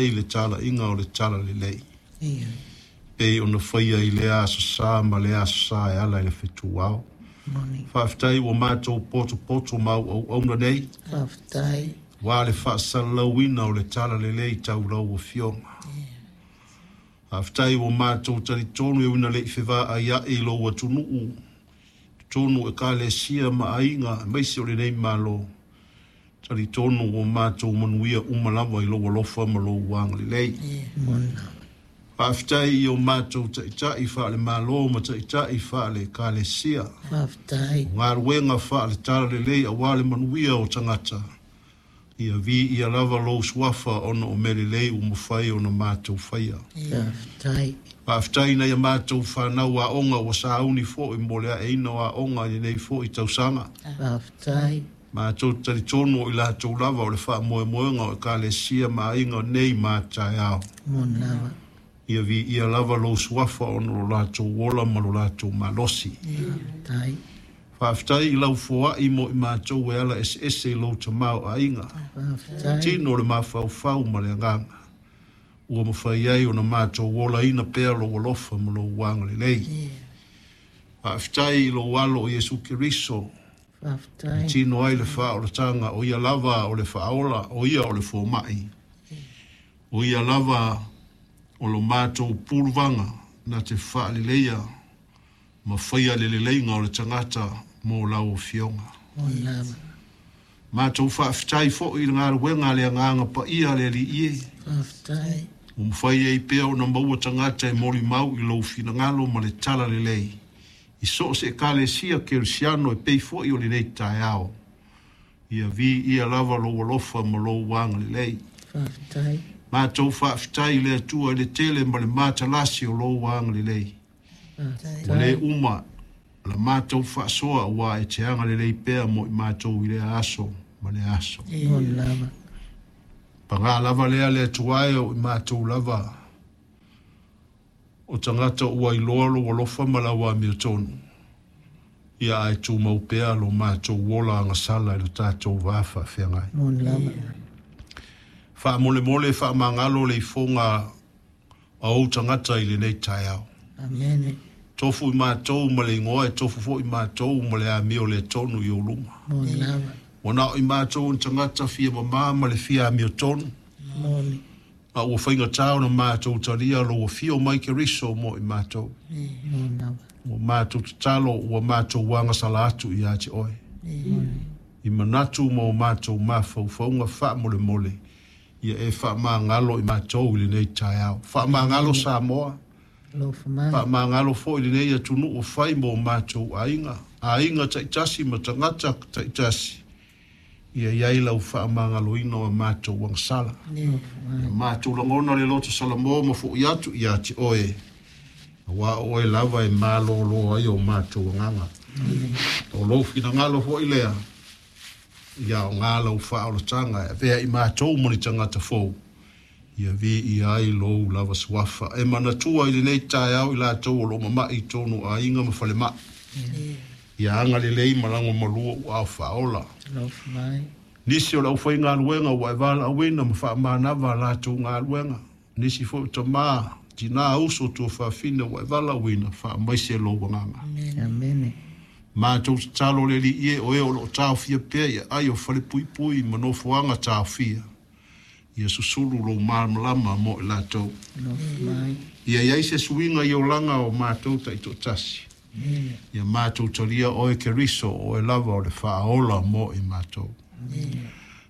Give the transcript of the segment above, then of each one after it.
ai le talaiga o le Talalelei, pei ona faia i lea Aso Sa ma lea Aso Sa e ala i le fetuao. Faafetai ua matou potopoto ma auauauna nei, aua le faasalalauina o le Talalelei tau lau Afioga. Faafetai ua matou talitonu e ui ina le i fevaaiai lou atunuu, totonu o Ekalesia ma aiga aemaise o lenei Malo, talitonu ua matou manuia uma lava i lou alofa ma lou agalelei. Faafetai i o matou taitai faale-Malo ma taitai faale-Ekalesia. O galuega faale-Talalelei aua le manuia o tagata, ia viia lava lou suafa ona o mea lelei ua mafai ona matou faia. Faafetai i nai a matou fanau aoga ua sauni foi mo le aeina o aoga i lenei foi tausaga. Matou te talitonu o i latou lava o le faamoemoega o Ekalesia ma aiga nei ma taeao. Ia viia lava lou suafa ona o lo latou ola ma lo latou malosi. Faafetai i lau foai mo i matou e ala eseese i lou tamaoaiga. Tino o le mafaufau ma le agaga. Ua mafai ai ona matou olaina pea lou alofa ma lou agalelei. Faafetai i lou alo o Iesu Keriso. E tino ai le faaolataga, o ia lava o le faaola, o ia o le fomai. O ia lava o lo matou puluvaga na te faaleleia ma faia le leleiga o le tagata mo lau Afioga. Matou faafetai foi i le galuega a le Agaga Paia a le Alii e. Ua mafai ai pea ona maua tagata e molimau i lou finagalo ma le talalelei i so o se Ekalesia Kerisiano e pei foi o lenei taeao. Ia viia lava lou alofa ma lou agalelei. Matou faafetai i le Atua i le tele ma le matalasi o lou agalelei. Ua le uma la matou faasoa aua e te agalelei pea mo i matou i lea aso ma lea aso. Paga lava lea le Atua e o i matou lava o tagata ua iloa lou alofa ma lau amiotonu, ia ae tumau pea lo matou ola agasala i lo tatou va faafeagai. Faamolemole faamagalo le ifoga a ou tagata i lenei taeao. Tofu i matou ma le igoa e tofu foi matou ma le amio le tonu i ou luma. Ua na o i matou ni tagata fia mama ma le fia amiotonu. A ua faigata ona matou talia lou afio mai Keriso mo i matou. Ua matou tatalo, ua matou agasala atu ia te oe. I manatu ma o matou mafaufauga faamolemole, ia e faamagalo i matou i lenei taeao. Faamagalo Samoa, faamagalo foi lenei atunuu o fai mo matou aiga, aiga taitasi ma tagata taitasi, ia i ai lau faamagaloina o matou agasala. Ia matou lagona le loto Salamo ma foi atu ia te oe, aua o oe lava e malolo ai o matou agaga. O lou finagalo foi lea, ia o ngā lau faaolataga e avea i matou ma ni tagata fou, ia viia ai lou lava suafa. E manatua i lenei taeao i latou o lo o mama'i i tonu aiga ma falemai. Ia agalelei ma lagomalua ua ao faaola. Nisi o le aufaigaluega ua e valaauina ma faamanava a latou galuega. Nisi foi o tamā, tinā, uso, tuafafine ua e valaauina, faamaise lou agaga. Matou tatalo le Alii e, o e o lo o taofia pea i aai o falepuipui ma nofoaga taofia, ia susulu lou malamalama mo i latou. Ia i ai se suiga i olaga o matou taitoatasi. Ia matou talia oe Keriso, o oe lava o le faaola mo i matou.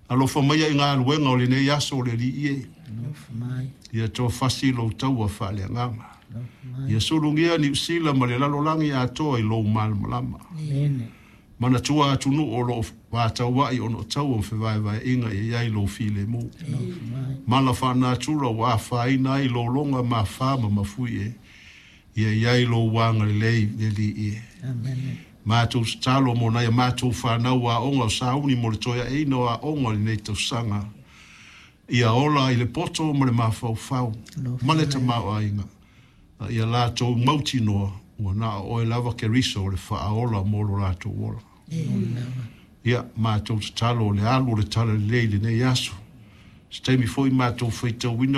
Alofa maia i galuega o lenei aso o le Alii e. Ia toafasi lou taua faaleagaga. Ia sulugia Niu Sila ma le lalolagi atoa i lou malamalama. Manatua atunuu o lo o vataua'i ona o taua ma fevaevaeaiga ia i ai lou filemu. Mala faanatura ua afaina ai lologa mafā ma mafui e. Ia i ai lou agalelei le Alii e. Matou tatalo mo nai a matou fanau aoga o sauni mo le toe aeina o aoga o lenei tausaga. Ia ola i le poto ma le mafaufau ma le tamaoaiga, a ia latou mautinoa ua na o oe lava Keriso o le faaola mo lo latou ola. Ia, matou tatalo o le alu o le talalelei i lenei aso. Se taimi foi matou faitauina.